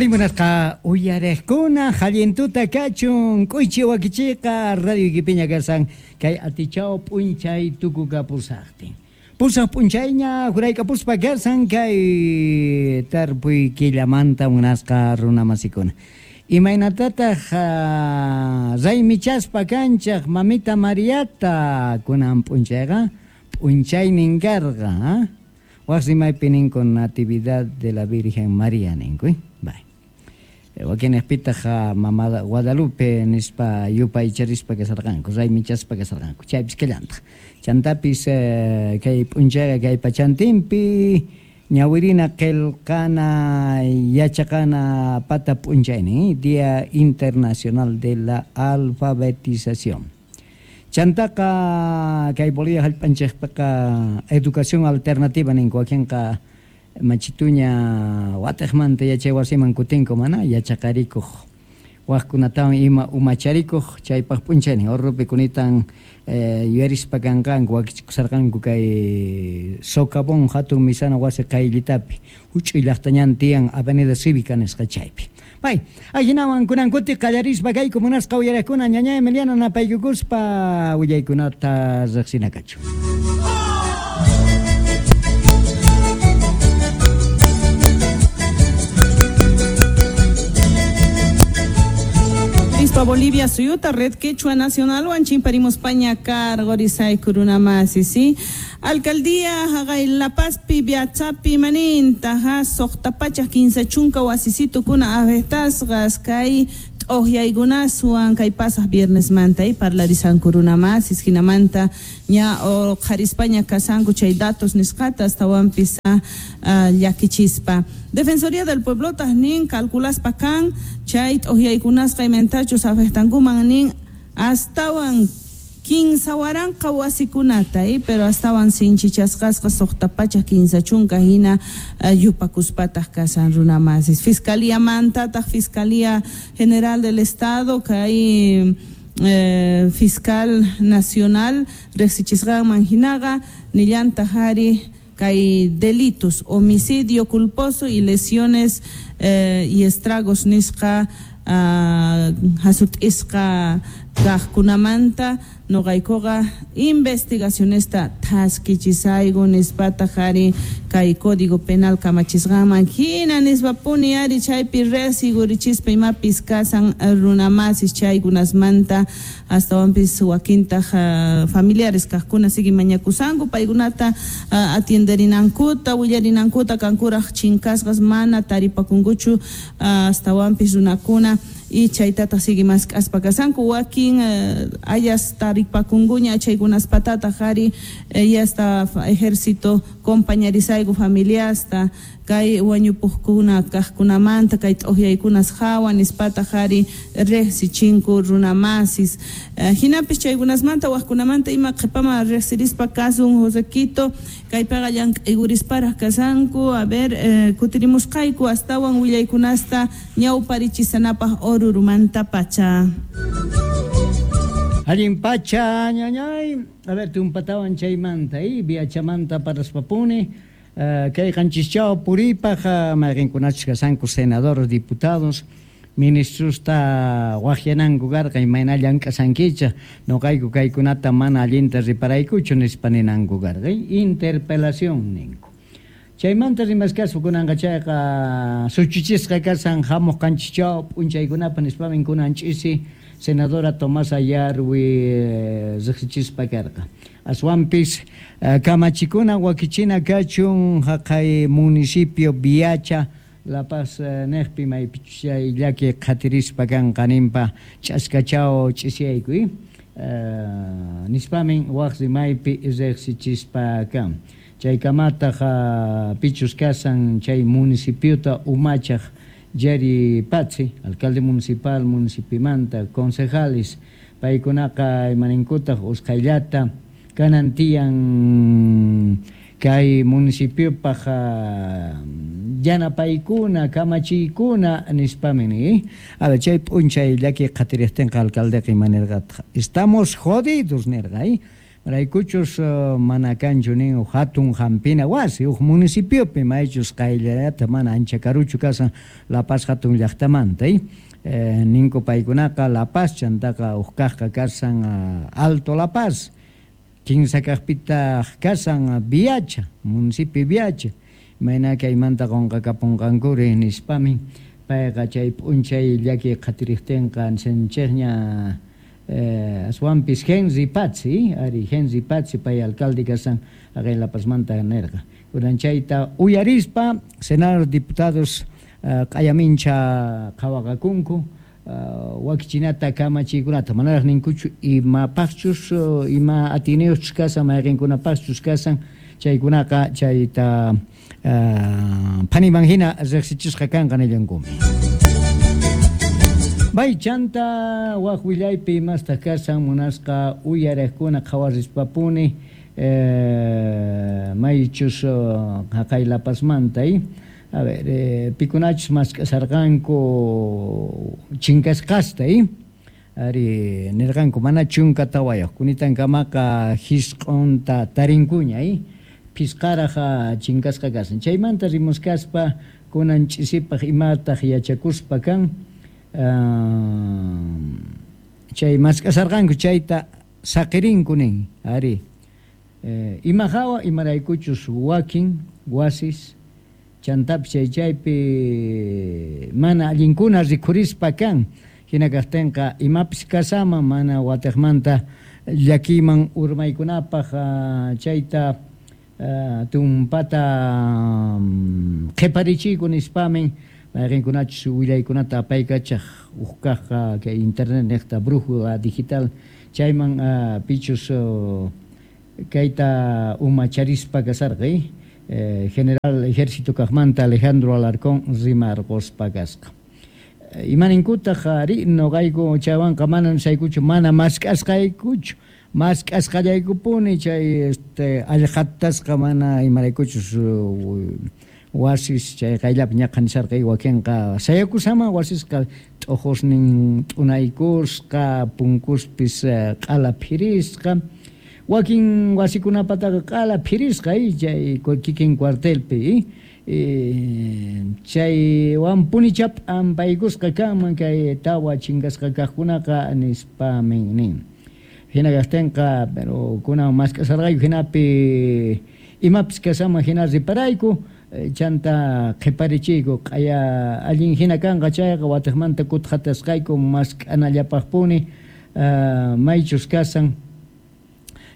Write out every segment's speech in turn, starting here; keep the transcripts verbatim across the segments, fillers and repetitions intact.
Arimunasqa uyarejkuna hallintuta kachun k'uychi wakichiqa radio ikipiña kasan kay atichao p'unchay tukukapusaqtin. Pusaq p'unchayña juraykapuspa kasan kay tarpuy killamanta munasqa runamasikuna. Imaynatataq raymichaspa kanchaq mamita Mariata kunan p'unchayqa p'unchaynin karqa. Waq rimaypi ninku Natividad de la Virgen María ninku. Bye. Wakinejpitaq mama Guadalupe nispa yupaycharispa kasarqanku, raymichaspa kasarqanku. Chaypis kallantaq. Chantapis kay p'unchayqa kay pachantinpi ñawirina qillqana yachaqana pata p'unchaynin, Día Internacional de la Alfabetización. Chantaqa kay Bolivia hallp'anchikpiqa educación alternativa ninku wakinqa machituña watejmanta yachay wasiman kutinku mana yachaqarikuq wajkunatawan ima umacharikuq chaypaq p'unchaynin Orrupi kunitan yuyarispa kanqanku wakichikusarqanku kay Socavón hatun misana wasi qayllitapi huch'uy llaqtañan tiyan Avenida Cívica nisqa chaypi. Bay, ajinawan kunan kuti qallarispa kayku munasqa uyaraqkuna ñaña Emiliana napaykukuspa willaykunata riqsinakachu. Bolivia suyuta Red Quechua Nacional Huanchimparimos Paña Cargorizay Kurunamasi, sí. Alcaldía Jagay La Pazpi Biachapi Maninta ha Soqtapacha quince chunka wasisitu kuna avestasgas kay t'uqyaykunaswan kay pasaq viernes manta y parlarisan kurunamasis jinamanta ña o qharispaña kasanku chay datos nisqata astawanpis llakichispa. Defensoría del Pueblo nin calculaspa kan chay t'uqyaykunasqa imentachus afectankuman nin astawan kinsa waranqa wasikunata eh, pero astawan sinchichasqasqa suqta pachak kinsa chunka hina uh, yupakuspataq kasan runamasis. Fiscalía mantataq Fiscalía General del Estado kay eh, Fiscal Nacional riqsichisqanman hinaqa nillantaq ari kay delitos, homicidio culposo y lesiones eh, y estragos nisqa uh, hasut'isqa kaqkunamanta noqaykuqa investigacionesta thaskichisayku nispataq ari kay Código Penal kamachisqanman hina nispapuni ari chaypi riqsigurichispa imapis kasan runamasis chaykunasmanta astawanpis wakintaq uh, familiares kaqkuna sigui mañakusanku paykunata uh, atienderinankuta willarinankuta kankuraq chinkasqas mana taripakunkuchu uh, astawanpis runakuna y chaytataq sigui mask'aspa kasanku wakin uh, ayas taripakunkuña chaykunaspatata ari eh, yasta ejército compañerisayku familiasta kay wañupuqkuna kaqkunamanta kay t'uqyaykunas hawa nispataq ari riqsichinku runamasis uh, hinapis chaykunasmanta waqkunamanta ima qhipaman riqsirispa kasun Josequito kaypiqa llank'aykurisparaq kasanku a ver eh, kutirimusqayku astawan willaykunasta ñawparichisanapaq Orurumanta pacha. Allin pacha ñañay, a ver tumpatawan chaymanta y viachamanta paraspapuni uh, kay qanchischao puripaq uh, mayqinkunachus kasanku senadores, diputados, ministrosta waqyananku karqa imayna llank'asankicha noqayku kaykunata mana allinta riparaykuchu nispa ninanku karqa interpelación ninku. Chaymanta rimaskasu kunanqa chayqa suchuchisqa kasan hamuq qanchischao p'unchaykunapa nispamin kunan ch'isi senadora Tomasa Yarwi riqsichispa karqa. Aswanpis kamachikuna wakichina kachun haqay municipio Viacha La Paz neqpi maypichus chay llaki qhatirispa kanqa ninpa ch'askachao ch'isiyayku nispamin waq rimaypi riqsichispa kan. Chaykamataq pichus kasan chay municipiota umachaq Jerry Pazzi, alcalde municipal, municipimanta, concejales, paykunaqa imaninkutaq usqhayllata kanan tiyan kay municipiopaq yanapaykuna kamachiykuna nispamin eh? A ver, chay p'unchay llaki qhatiriqtinqa alcaldeqa imanirqataq estamos jodidos nirqa eh? Raykuchus uh, mana kanchu nin hatun hampina wasi huk municipiopi maychus qayllata mana ancha karuchu kasan La Paz hatun llaqtamanta eh, ninku paykunaqa La Paz chantaqa huk kaqqa kasan uh, Alto La Paz kinsa kaqpitaq kasan Viacha municipio Viacha mayna kaymanta qunqakapunqankuri nispami payqa chay p'unchay llaki qhatiriqtinqa senchikña eh, aswanpis Henry Pazzi ari Henry Pazzi pay alcalde kasan haqay La Pazmanta nirqa kunan chayta uyarispa senador diputados uh, q'ayamincha qhawaqakunku uh, wakichinata kamachiykunata manaraq ninkuchu imapaqchus uh, ima atiniyuqchus kasan mayqinkunapaqchus kasan chaykunaqa chayta uh, phaniman hina riqsichisqa kanqa nillankumi. Bay chanta waq willaypi imastaq kasan munasqa uyariqkuna qhawarispapuni eh, maychus haqay La Pazmanta eh? A ver, eh, pikunachus mask'asarqanku chinkasqasta eh? Ari nirqanku mana chunka tawayuq kunitankamaqa hisq'unta tarinkuña eh? Phisqaraq chinkasqa kasan chaymanta rimuskaspa kunan ch'isipaq imataq yachakuspa kan Uh, chay mask'asarqanku chayta saqirinku nin ari eh, ima hawa imaraykuchus wakin wasis chantapis chay chaypi mana allinkuna rikhurispa kan hina kaqtinqa imapis kasama mana watiqmanta llakiyman urmaykunapaq uh, chayta uh, tumpata um, qhiparichiyku nispamin mayqinkunachus willaykunata apaykachaq huk kaqqa kay internet niqta brújula digital chayman uh, pichus uh, kayta umacharispa kasarqa eh? Eh, general ejército kaqmanta Alejandro Alarcón rimarquspa kasqa imaninkutaq ari noqayku chaywanqa mana nisaykuchu mana mask'asqaykuchu mask'asqallaykupuni chay este allqatasqa mana imaraykuchus uh, wasis chay qayllapi ñaqa nisarqa wakinqa sayakusama wasisqa t'uqusnin t'unaykusqa punkuspis q'ala phirisqa wakin wasikunapataqa q'ala phirisqa chay kikin cuartelpi chaywanpunicha p'ampaykusqa kanman kay tawa chinkasqa kaqkunaqa nispamin nin hina kaqtinqa pero kunan mask'asarqayku hinapi imapis kasama hina riparayku chanta qhiparichiyku q'aya allin hina kanqa chayqa watiqmanta kutqatasqayku mask'anallapaqpuni uh, maychus kasan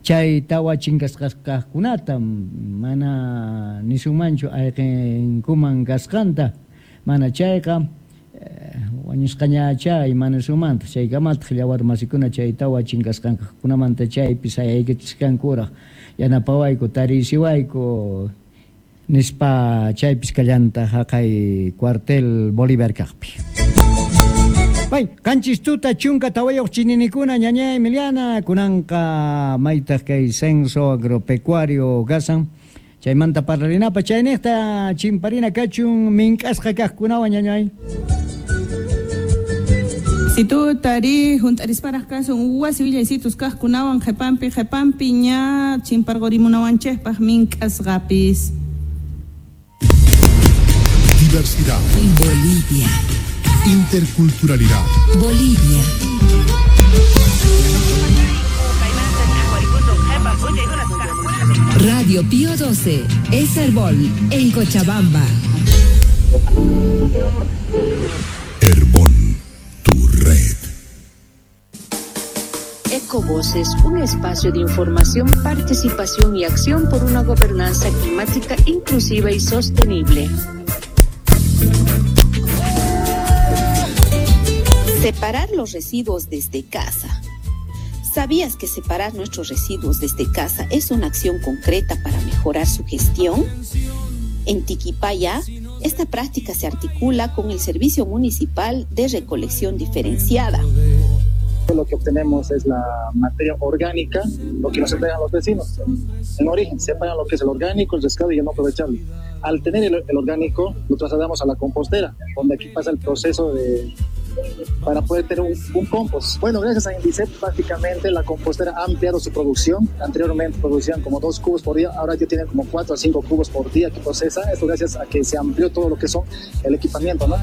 chay tawa chinkasqas kaqkunata mana nisunmanchu ayqinkuman kasqanta mana chayqa wañusqañacha imanisunmanta chaykamataq yawar masikuna chay tawa chinkasqankunamanta chaypi sayaykichisqankuraq yanapawayku tarisiwayku nispa chaypis kallanta haqay cuartel Bolívar kaqpi. Bay, qanchis tuta chunka tawayuq chininikuna ñaña Emiliana kunanqa maytaq kay censo agropecuario kasan chaymanta parlarinapa chayniqta chimparina kachun mink'asqa kaqkunawan ñañay. Si tu tari juntarisparaq kasun wasi willaysitus kaqkunawan qhipanpi qhipanpi ña chimparqurimunawanchikpaq mink'asqapis. Diversidad. Bolivia. Interculturalidad. Bolivia. Radio Pío doce, es Herbol, en Cochabamba. Herbol, tu red. Ecovoces, un espacio de información, participación y acción por una gobernanza climática inclusiva y sostenible. Separar los residuos desde casa. ¿Sabías que separar nuestros residuos desde casa es una acción concreta para mejorar su gestión? En Tiquipaya, esta práctica se articula con el Servicio Municipal de Recolección Diferenciada. Lo que obtenemos es la materia orgánica, lo que nos entregan los vecinos. En origen, separan lo que es el orgánico, el rescate y el no aprovechable. Al tener el, el orgánico, lo trasladamos a la compostera, donde aquí pasa el proceso de, para poder tener un, un compost. Bueno, gracias a Indicep prácticamente la compostera ha ampliado su producción. Anteriormente producían como dos cubos por día, ahora ya tienen como cuatro a cinco cubos por día que procesa. Esto gracias a que se amplió todo lo que son el equipamiento, ¿no?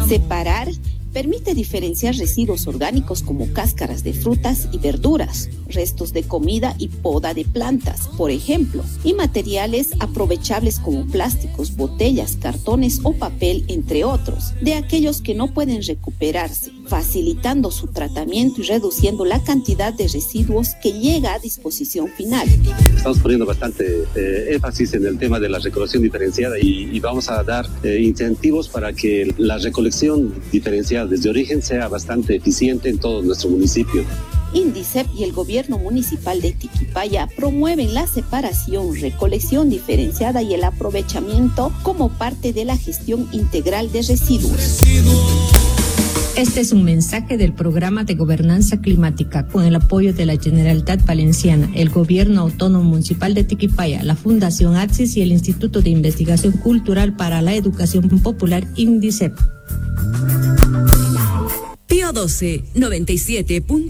Separar permite diferenciar residuos orgánicos como cáscaras de frutas y verduras, restos de comida y poda de plantas, por ejemplo, y materiales aprovechables como plásticos, botellas, cartones o papel, entre otros, de aquellos que no pueden recuperarse, facilitando su tratamiento y reduciendo la cantidad de residuos que llega a disposición final. Estamos poniendo bastante eh, énfasis en el tema de la recolección diferenciada y, y vamos a dar eh, incentivos para que la recolección diferenciada desde origen sea bastante eficiente en todo nuestro municipio. Indicep y el gobierno municipal de Tiquipaya promueven la separación, recolección diferenciada y el aprovechamiento como parte de la gestión integral de residuos. Este es un mensaje del Programa de Gobernanza Climática con el apoyo de la Generalitat Valenciana, el Gobierno Autónomo Municipal de Tiquipaya, la Fundación Axis y el Instituto de Investigación Cultural para la Educación Popular Indicep. Pío doce, noventa y siete punto